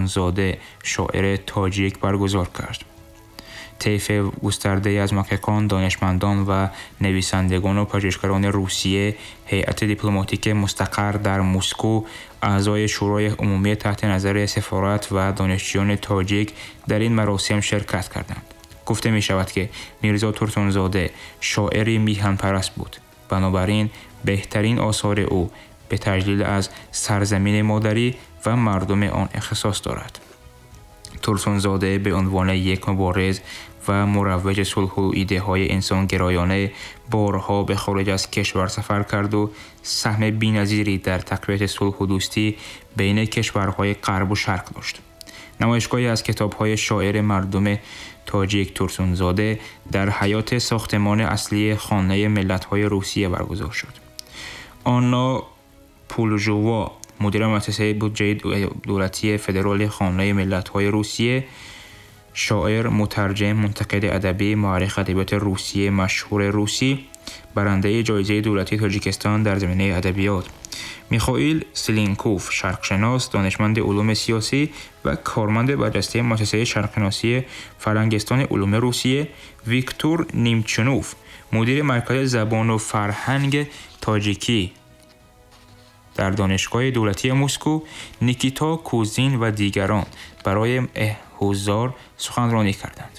Турсунзода, шоири тоҷик, баргузор кард. طیف گسترده‌ای از محققان، دانشمندان و نویسندگان و پژوهشگران روسیه، هیئت دیپلماتیک مستقر در مسکو، اعضای شورای عمومی تحت نظر سفارت و دانشجویان تاجیک در این مراسم شرکت کردند. گفته می شود که میرزا تورسونزاده شاعری میهن پرست بود. بنابراین بهترین آثار او به تجلیل از سرزمین مادری و مردم آن اختصاص دارد. تورسونزاده به عنوان یک مبارز و مروج صلح و ایده های انسانگرایانه بارها به خارج از کشور سفر کرد و سهم بی‌نظیری در تقویت صلح و دوستی بین کشورهای غرب و شرق داشت. نمایشگاهی از کتاب‌های شاعر مردم تاجیک تورسونزاده در حیاط ساختمان اصلی خانه ملت‌های روسیه برگزار شد. آنا پولوژووا، مدیر مؤسسه بودجه دولتی فدرال خانه ملت‌های روسیه، شاعر، مترجم، منتقد ادبی، مورخ ادبیات روسیه مشهور روسی، برنده جایزه دولتی تاجیکستان در زمینه ادبیات، میخائیل سلینکوف، شرقشناس، دانشمند علوم سیاسی و کارمند برجسته مؤسسه شرقشناسی فرهنگستان علوم روسیه، ویکتور نیمچنوف، مدیر مرکز زبان و فرهنگ تاجیکی در دانشگاه دولتی مسکو، نیکیتا کوزین و دیگران برای حضار سخنرانی کردند.